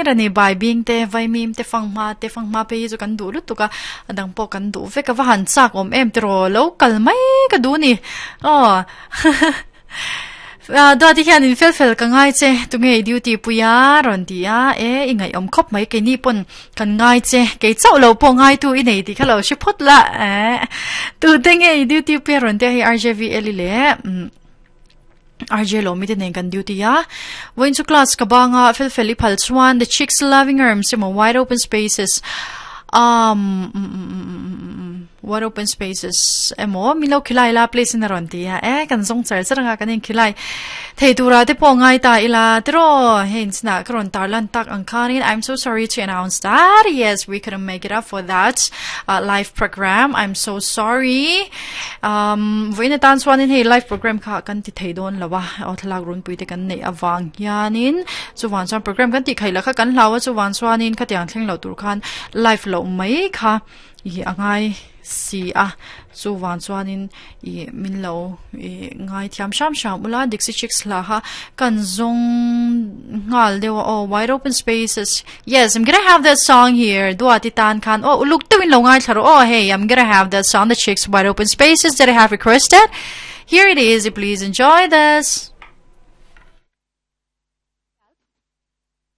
hlir a ni. Baibing te, vaimim te, fanghma te, fanghma phei hi chu kan duh lutuk a, a dang pawh kan duh vek a, va han chak awm em tiraw, lo kal mai ka duh a ni. Aw Duati hian in fel fel ka ngai che, tunge i duty pui a rawn ti a, e i ngaihawm khawp mai keini pawn kan ngai che, kei chauh lo pawh ngaitu i nei tih kha lo hre phawt la, eh tute nge i duty pui a rawn ti a hei RJV Eli leh RJ Lawmi te nen kan duty a, vawiin chu class ka bang a, fel fel i phal chuan the chicks loving arms emaw wide open spaces um wide open spaces emaw min lo khilai la please in a rawn ti a, e kan zawng char char anga kan inkhilai thei tura te pawh ngai ta ila tiraw hei inchhinah ka rawn tar lan tak ang khanin I'm so sorry to announce that yes we couldn't make it up for that uh, live program I'm so sorry Um, vawiin atan chuanin hei live program kha kan ti thei dawn lo a, aw thlalak runpui te kan neih avang hianin chuvang chuan program kan tih khaih lah kha kan hlau a, chuvang chuanin khatiang thleng loh tur khan live loh mai kha ih a ngai si a, chuvang chuanin ih min lo ih ngai thiam hram hram ula Dixie Chicks hla kha kan zawng nghal deuh a aw wide open spaces. Yes, I'm gonna have that song here. Duati tan khan. Oh, uluk tawin lo ngai thlaro. Oh, hey, I'm gonna have that song, The Chicks Wide Open Spaces that I have requested. Here it is. Please enjoy this.